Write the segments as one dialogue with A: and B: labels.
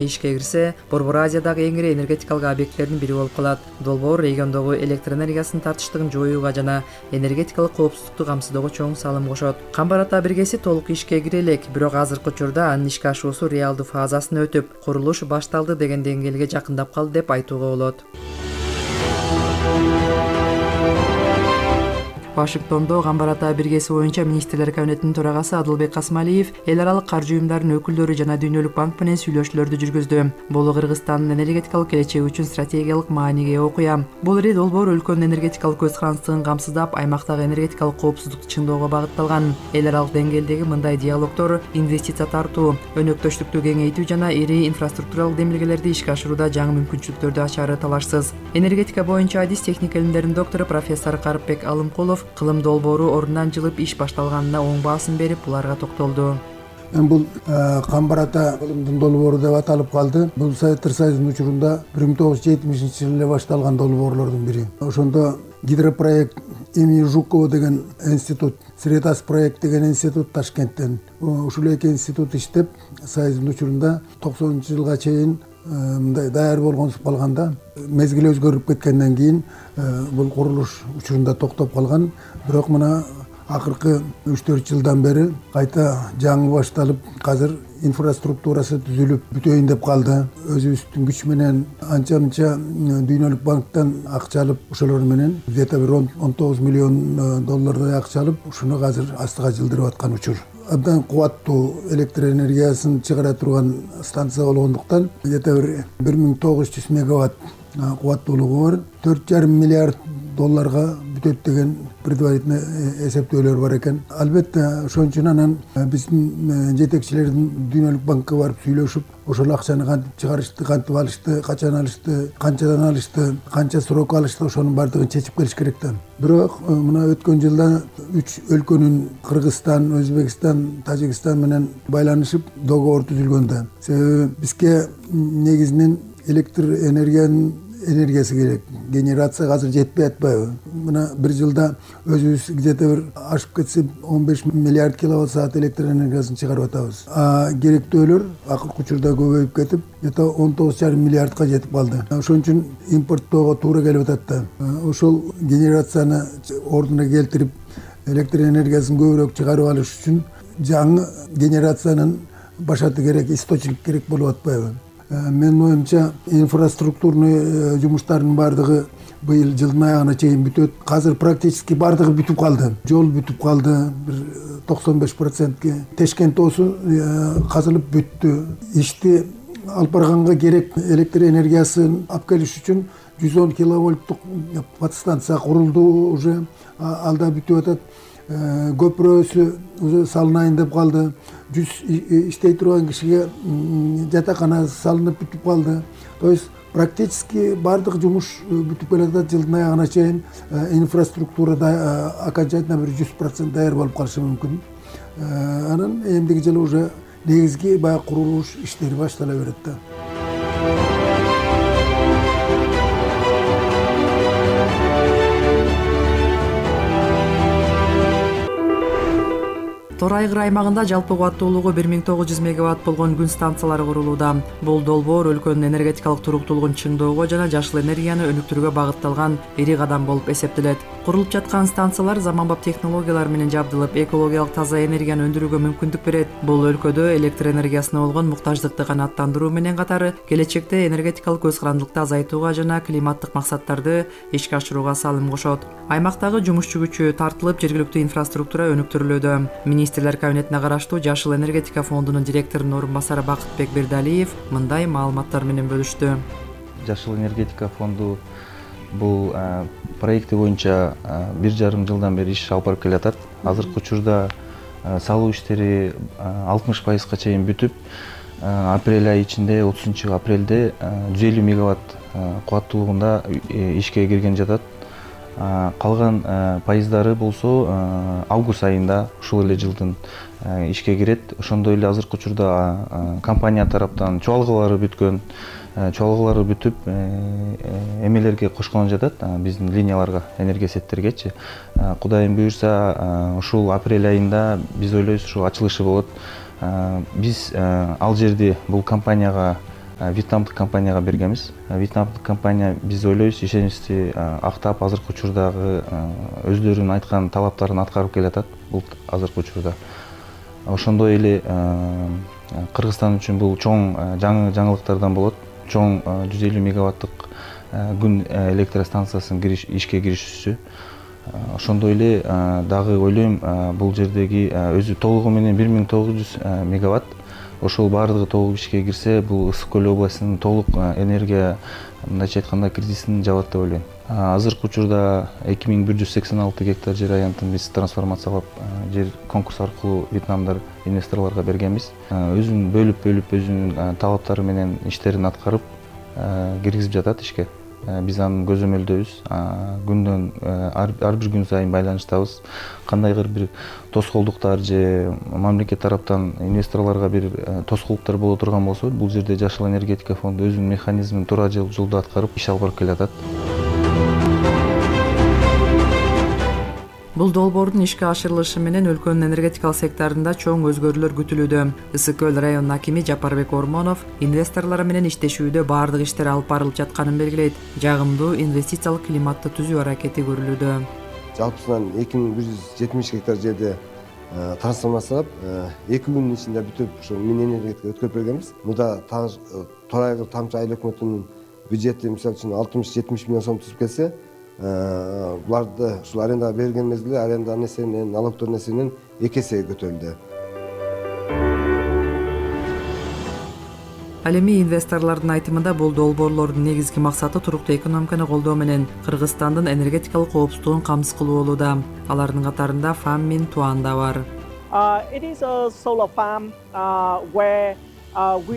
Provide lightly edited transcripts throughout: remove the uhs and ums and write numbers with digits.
A: ишке кирсе, Борбор Азиядагы эң ири энергетикалык объекттердин бири болуп калат. Долбоор региондогу электр энергиясынын тартыштыгын жоюуга жана энергетикалык коопсуздукту камсыздоого чоң салым кошот. Камбар Ата биргеси толук ишке кире элек, бирок азыркы учурда анын ишке ашуусу реалдуу фазасын өтүп, курулуш башталды деген деңгээлге жакындап калды деп айтууга болот. Вашингтондо Камбар Ата биргеси боюнча министрлер кабинетинин төрагасы Адылбек Касмалиев эл аралык каржы уюмдарынын өкүлдөрү жана Дүйнөлүк банк менен сүйлөшүүлөрдү жүргүздү. Бул Кыргызстандын энергетикалык келечеги үчүн стратегиялык мааниге ээ окуя. Бул ири долбоор өлкөнүн энергетикалык көз карандысын камсыздап, аймактагы энергетикалык коопсуздукту чыңдоого багытталган. Эл аралык деңгээлдеги мындай диалогдор инвестиция тартуу, өнөктөштүктү кеңейтүү жана ири инфраструктуралык демилгелерди ишке ашурууда жаңы мүмкүнчүлүктөрдү ачары талашсыз. Энергетика боюнча адис техника илимдеринин доктору профессор Карыпбек Алымкулов кылым долбоору ордунан жылып иш башталганына оң баасын берип, буларга токтолду.
B: Бул Камбар Ата кылымдын долбоору деп аталып калды. Бул Советтер Союзунун учурунда 1970-жылы эле башталган долбоорлордун бири. Ошондо гидропроект имени Жукова деген институт, Средас проект деген институт Ташкенттен. Ушул эки институт иштеп, Союздун учурунда 90-жылга чейин мындай даяр болгонсуп калганда, мезгил өзгөрүп кеткенден кийин бул курулуш учурунда токтоп калган. Бирок мына акыркы 3-4 жылдан бери кайта жаңы башталып, азыр инфраструктурасы түзүлүп бүтөйүн деп калды. Өзүбүздүн күч менен анча-мынча Дүйнөлүк банктан акча алып, ошолор менен где-то бир 19 миллион доллардай акча алып, ушуну азыр астыга жылдырып аткан учур. Абдан кубаттуу электр энергиясын чыгара турган станция болгондуктан, где-то бир 1900 мегаватт кубаттуулугу бар, 4,5 миллиард долларга бүтөт деген предварительный эсептөөлөр бар экен. Албетте, ошон үчүн анан биздин жетекчилердин Дүйнөлүк банкка барып сүйлөшүп, ошол акчаны кантип чыгарышты, кантип алышты, качан алышты, канчадан алышты, канча срок алышты, ошонун баардыгын чечип келиш керек да. Бирок мына өткөн жылда 3 өлкөнүн Кыргызстан, Өзбекстан, Тажикстан менен байланышып договор түзүлгөн да. Себеби бизге негизинен электр энергиясы керек. Генерация азыр жетпей атпайбы? Мына бир жылда өзүбүз где-то бир ашып кетсе 15 миллиард киловатт саат электр энергиясын чыгарып атабыз. Керектөөлөр акыркы учурда көбөйүп кетип, где-то 19,5 миллиардка жетип калды. Ошон үчүн импорттоого туура келип атат да. Ошол генерацияны ордуна келтирип, электр энергиясын көбүрөөк чыгарып алыш үчүн жаңы генерациянын башаты керек, источник керек болуп атпайбы? Менин оюмча, инфраструктурный жумуштардын баардыгы быйыл жылдын аягына чейин бүтөт. Азыр практически баардыгы бүтүп калды. Жол бүтүп калды, бир 95%ке. Тешкент тоосу казылып бүттү. Ишти алып барганга керек электр энергиясын алып келиш үчүн 110 киловольттук подстанция курулду уже. Алда бүтүп атат. Көпүрөсү уже салынайын деп калды. 100 иштей турган кишиге жатакана салынып бүтүп калды. То есть практически баардык жумуш бүтүп келатат. Жылдын аягына чейин инфраструктурада окончательно бир 100% даяр болуп калышы мүмкүн. Анан эмдиги жылы уже негизги баягы курулуш иштери баштала берет да.
A: Тор Айгыр аймагында жалпы кубаттуулугу 1900 мегаватт болгон күн станциялары курулууда. Бул долбоор өлкөнүн энергетикалык туруктуулугун чыңдоого жана жашыл энергияны өнүктүрүүгө багытталган ири кадам болуп эсептелет. Курулуп жаткан станциялар заманбап технологиялар менен жабдылып, экологиялык таза энергияны өндүрүүгө мүмкүндүк берет. Бул өлкөдө электр энергиясына болгон муктаждыкты канааттандыруу менен катары келечекте энергетикалык көз карандылыкты азайтууга жана климаттык максаттарды ишке ашырууга салым кошот. Аймактагы жумушчу күчү тартылып, жергиликтүү инфраструктура өнүктүрүлүүдө. Министрлер кабинетине караштуу Жашыл энергетика фондунун директорунун орун басары Бакытбек Бердалиев мындай маалыматтар менен бөлүштү.
C: Жашыл энергетика фонду бул проекти боюнча 1,5 жылдан бери иш алып барып келатат. Азыркы учурда салуу иштери 60%га чейин бүтүп, апрель айы ичинде 30 апрелде 150 мегаватт кубаттуулугунда ишке кирген жатат. Калган пайыздары болсо август айында ушул эле жылдын ишке кирет. Ошондой эле азыркы учурда компания тараптан чуалгалары бүткөн, чуалгалары бүтүп, эмелерге кошкон жатат, биздин линияларга, энергия сеттергечи. Кудайым буюрса, ушул апрель айында биз ойлойбуз ушул ачылышы болот. Биз ал жерди бул компанияга вьетнамдык компанияга бергенбиз. Вьетнамдык компания, биз ойлойбуз, ишеничти актап азыркы учурдагы өздөрүнүн айткан талаптарын аткарып келатат бул азыркы учурда. Ошондой эле Кыргызстан үчүн бул чоң жаңылыктардан болот. Чоң 150 мегаваттык күн электростанциясынын ишке киришүүсү. Ошондой эле дагы ойлойм, бул жердеги өзү толугу менен 1900 мегаватт. Ошол баардыгы толук ишке кирсе, бул Ысык көл областынын толук энергия, мындайча айтканда, кризисин жабат деп ойлойм. Азыркы учурда 2186 гектар жер аянтын биз трансформациялап, жер конкурс аркылуу вьетнамдар инвесторлорго бергенбиз. Өзүн бөлүп өзүнүн талаптары менен иштерин аткарып киргизип жатат ишке. Биз аны көзөмөлдөйбүз. Күндөн ар бир күн сайын байланыштабыз. Кандайдыр бир тоскоолдуктар же мамлекет тараптан инвесторлорго бир тоскоолдуктар боло турган болсо, бул жерде Жашыл энергетика фонду өзүнүн механизмин туура жолдо аткарып иш алып барып келатат.
A: Бул долбоордун ишке ашырылышы менен өлкөнүн энергетикалык секторунда чоң өзгөрүүлөр күтүлүүдө. Ысык көл районунун акими Жапарбек Ормонов инвесторлор менен иштешүүдө баардык иштер алып барылып жатканын белгилейт. Жагымдуу инвестициялык климатты түзүү аракети көрүлүүдө.
D: Жалпысынан 2170 гектар жерде трансформациялап, 2 күнүн ичинде бүтүп, ошо мини энергетика өткөрүп бергенбиз. Мында Торайгыл тамчы айыл өкмөтүнүн бюджети мисалы үчүн 60-70 миллион сом түзүп келсе, буларды ушул арендага берген мезгилде аренда несиенин, налогдор несиенин 2 эсеге көтөрүлдү.
A: Ал эми инвесторлордун айтымында бул долбоорлордун негизги максаты туруктуу экономиканы колдоо менен Кыргызстандын энергетикалык коопсуздугун камсыз кылуу болууда. Алардын катарында Фаммин Туан да бар.
E: It is a solar farm where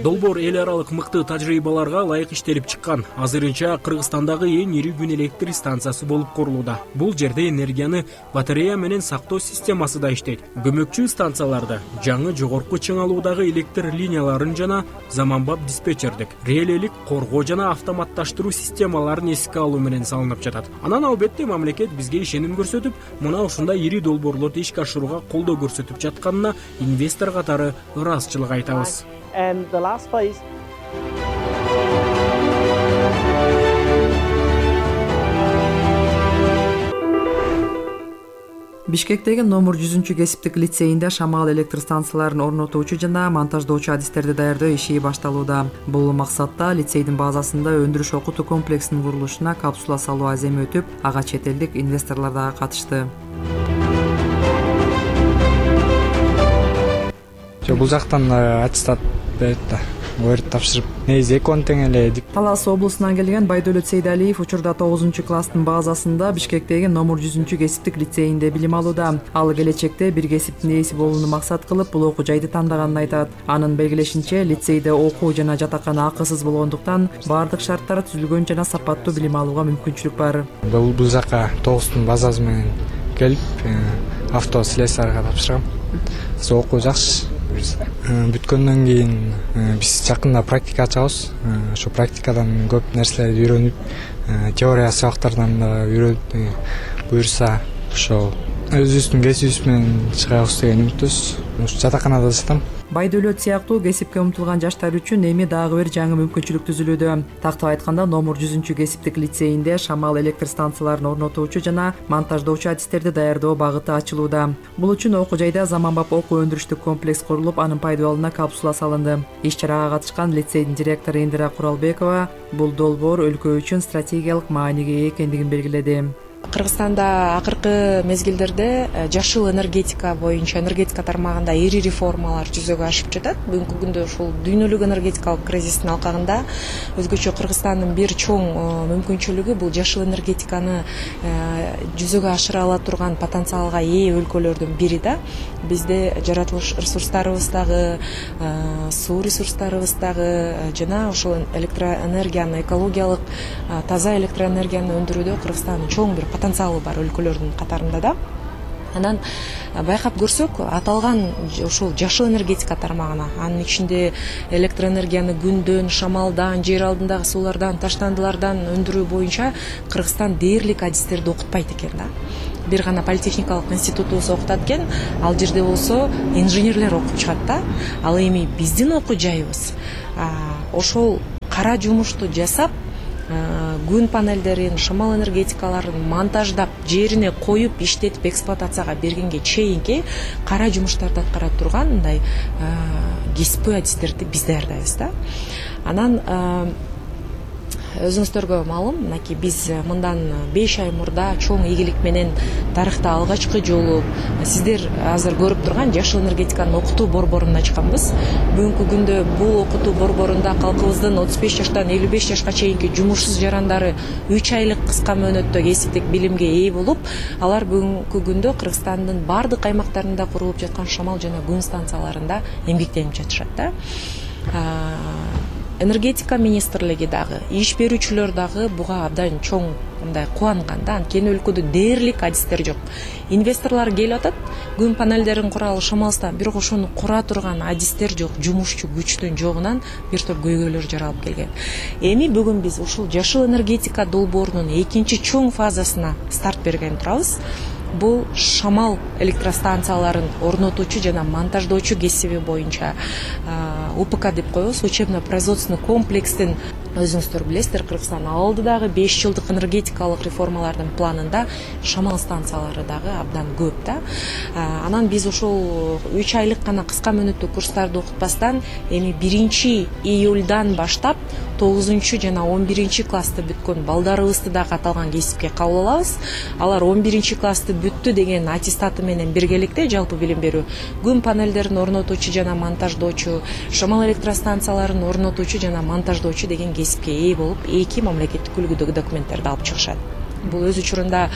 F: Долбоор эл аралык мыкты тажрыйбаларга ылайык иштелип чыккан. Азырынча Кыргызстандагы эң ири күн электр станциясы болуп курулууда. Бул жерде энергияны батарея менен сактоо системасы да иштейт. Көмөкчү станцияларда жаңы жогорку чыңалуудагы электр линияларын жана заманбап диспетчердик, релелик коргоо жана автоматташтыруу системаларын эске алуу менен салынып жатат. Анан албетте мамлекет бизге ишеним көрсөтүп, мына ушундай ири долбоорлорду ишке ашырууга колдоо көрсөтүп жатканына инвестор катары ыраазычылык айтабыз.
E: and the last phase.
A: Бишкектеги номер 100 кесиптик лицейинде шамал электр станцияларын орнотуучу жана монтаждоочу адистерди даярдоо иши башталууда. Бул максатта лицейдин базасында өндүрүш окутуу комплексинин курулушуна капсула салуу аземи өтүп, ага чет элдик инвесторлор дагы катышты.
G: Бул жактан аттестат берет да, өрт тапшырып, негизи экөөнү тең эле.
A: Талас облусунан келген Байдөлөт Сейдалиев учурда 9-класстын базасында Бишкектеги номер 100 кесиптик лицейинде билим алууда. Ал келечекте бир кесиптин ээси болууну максат кылып, бул окуу жайды тандаганын айтат. Анын белгилешинче, лицейде окуу жана жатакана акысыз болгондуктан баардык шарттар түзүлгөн жана сапаттуу билим алууга мүмкүнчүлүк бар.
G: Бул жака 9-тун базасы менен келип, автослесарга тапшыргам. Окуу жакшы. Бүткөндөн кийин биз жакында практика ачабыз. Ошо практикадан көп нерселерди үйрөнүп, теория сабактардан да үйрөнүп, буюрса ошо өзүбүздүн кесибибиз менен чыгабыз деген үмүттөбүз. Жатаканада жатам.
A: Байдөлөт сыяктуу кесипке умтулган жаштар үчүн эми дагы бир жаңы мүмкүнчүлүк түзүлүүдө. Тактап айтканда, номер 100 кесиптик лицейинде шамал электр станцияларын орнотуучу жана монтаждоочу адистерди даярдоо багыты ачылууда. Бул үчүн окуу жайда заманбап окуу өндүрүштүк комплекс курулуп, анын пайдаланууна капсула салынды. Иш-чарага катышкан лицейдин директору Индира Куралбекова бул долбоор өлкө үчүн стратегиялык мааниге ээ экендигин белгиледи.
H: Кыргызстанда акыркы мезгилдерде жашыл энергетика боюнча энергетика тармагында ири реформалар жүзөгө ашып жатат. Бүгүнкү күндө ушул дүйнөлүк энергетикалык кризистин алкагында өзгөчө Кыргызстандын бир чоң мүмкүнчүлүгү бул жашыл энергетиканы жүзөгө ашыра ала турган потенциалга ээ өлкөлөрдүн бири да. Бизде жаратылыш ресурстарыбыз дагы, суу ресурстарыбыз дагы жана ошол электроэнергияны, экологиялык таза электроэнергияны өндүрүүдө Кыргызстандын чоң бир потенциалы бар өлкөлөрдүн катарында да. Анан байкап көрсөк, аталган ушул жашыл энергетика тармагына, анын ичинде электроэнергияны күндөн, шамалдан, жер алдындагы суулардан, таштандылардан өндүрүү боюнча Кыргызстан дээрлик адистерди окутпайт экен да. Бир гана политехникалык институтубуз окутат экен, ал жерде болсо инженерлер окуп чыгат да. Ал эми биздин окуу жайыбыз ошол кара жумушту жасап, күн панелдерин, шамал энергетикаларын монтаждап, жерине коюп, иштетип, эксплуатацияга бергенге чейинки кара жумуштарды аткара турган мындай кесипкөй адистерди биз даярдайбыз да. Анан өзүңүздөргө маалым, мынакей биз мындан 5 ай мурда чоң ийгилик менен тарыхта алгачкы жолу сиздер азыр көрүп турган жашыл энергетиканын окутуу борборун ачканбыз. Бүгүнкү күндө бул окутуу борборунда калкыбыздын 35 жаштан 55 жашка чейинки жумушсуз жарандары 3 айлык кыска мөөнөттө кесиптик билимге ээ болуп, алар бүгүнкү күндө Кыргызстандын бардык аймактарында курулуп жаткан шамал жана күн станцияларында эмгектенип жатышат да. Энергетика министрлиги дагы, иш берүүчүлөр дагы буга абдан чоң мындай кубанган да. Анткени өлкөдө дээрлик адистер жок. Инвесторлор келип атат, күн панелдерин куралы шамалстан, бирок ошону кура турган адистер жок, жумушчу күчтүн жогунан бир топ көйгөйлөр жаралып келген. Эми бүгүн биз ушул жашыл энергетика долбоорунун экинчи чоң фазасына старт берген турабыз. Бул шамал электростанцияларын орнотуучу жана монтаждоочу кесиби боюнча УПК деп коебуз, учебно-производственный комплекстин өзүңүздөр билесиздер, Кыргызстан алдыдагы 5 жылдык энергетикалык реформалардын планында шамал станциялары дагы абдан көп да. Анан биз ошол 3 айлык гана кыска мөөнөттүү курстарды окутпастан эми 1 июльдан баштап 9 жана 11 классты бүткөн балдарыбызды дагы аталган кесипке кабыл алабыз. Алар 11 классты бүттү деген аттестаты менен биргеликте жалпы билим берүү, күн панелдерин орнотуучу жана монтаждоочу, шамал электростанцияларын орнотуучу жана монтаждоочу деген кесипке ээ болуп, 2 мамлекеттик үлгүдөгү документтерди алып чыгышат. Бул өз учурунда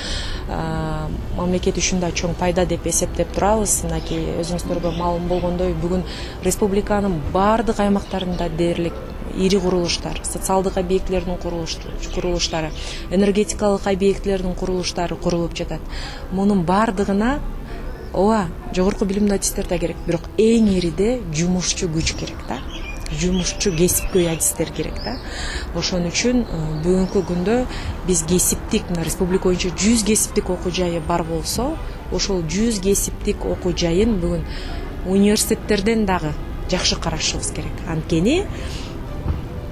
H: мамлекет үчүн да чоң пайда деп эсептеп турабыз. Мынакей өзүңүздөргө маалым болгондой, бүгүн республиканын бардык аймактарында дээрлик ири курулуштар, социалдык объектилердин курулуштары, энергетикалык объектилердин курулуштары курулуп жатат. Мунун бардыгына ооба жогорку билимдүү адистер да керек, бирок эң ириде жумушчу күч керек да. Жумушчу кесипкөй адистер керек да. Ошон үчүн бүгүнкү күндө биз кесиптик, республика боюнча 100 кесиптик окуу жайы бар болсо, ошол 100 кесиптик окуу жайын бүгүн университеттерден дагы жакшы карашыбыз керек. Анткени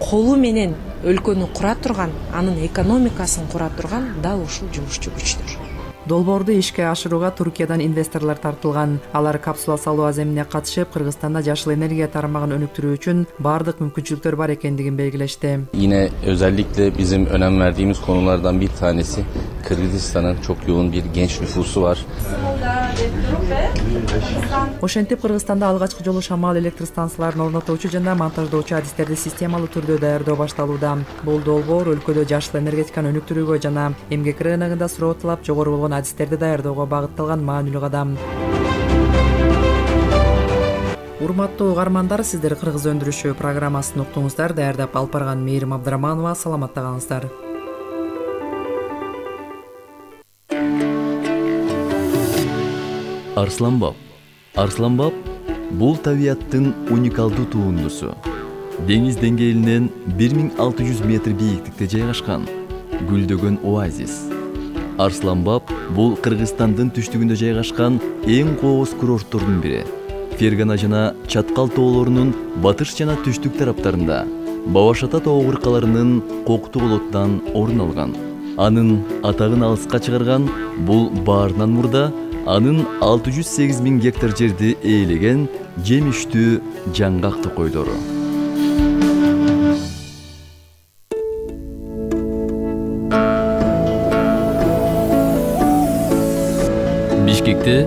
H: колу менен өлкөнү кура турган, анын экономикасын кура турган дал ушул жумушчу күчтөр.
A: Долбоорду ишке ашырууга Туркиядан инвесторлор тартылган. Алар капсула салуу аземине катышып, Кыргызстанда жашыл энергия тармагын өнүктүрүү үчүн бардык мүмкүнчүлүктөр бар экендигин белгилешти.
I: Yine özellikle bizim önem verdiğimiz konulardan bir tanesi Kırgızistan'ın çok yoğun bir genç nüfusu var.
A: Ошентип Кыргызстанда алгачкы жолу шамал электростанцияларын орнотуучу жана монтаждоочу адистерди системалуу түрдө даярдоо башталууда. Бул долбоор өлкөдө жашыл энергетиканы өнүктүрүүгө жана эмгек рыногунда суроо талап жогору болгон адистерди даярдоого багытталган маанилүү кадам. Урматтуу угармандар, сиздер Кыргыз өндүрүшү программасын уктуңуздар. Даярдап алып барган Мээрим Абдыраманова. Саламатта калыңыздар.
J: Арсланбап. Арсланбап бул табияттын уникалдуу туындусу. Деңиз деңгээлинен 1600 метр бийиктикте жайгашкан гүлдөгөн оазис. Арсланбап бул Кыргызстандын түштүгүндө жайгашкан эң кооз курорттордун бири. Фергана жана Чаткал тоолорунун батыш жана түштүк тараптарында Бабашата тоо кыркаларынын коктуу болоттан орун алган. Анын атагын алыска чыгарган бул баарынан мурда анын 608 000 гектар жерди ээлеген жемиштүү жаңгак токойдору. Бишкекте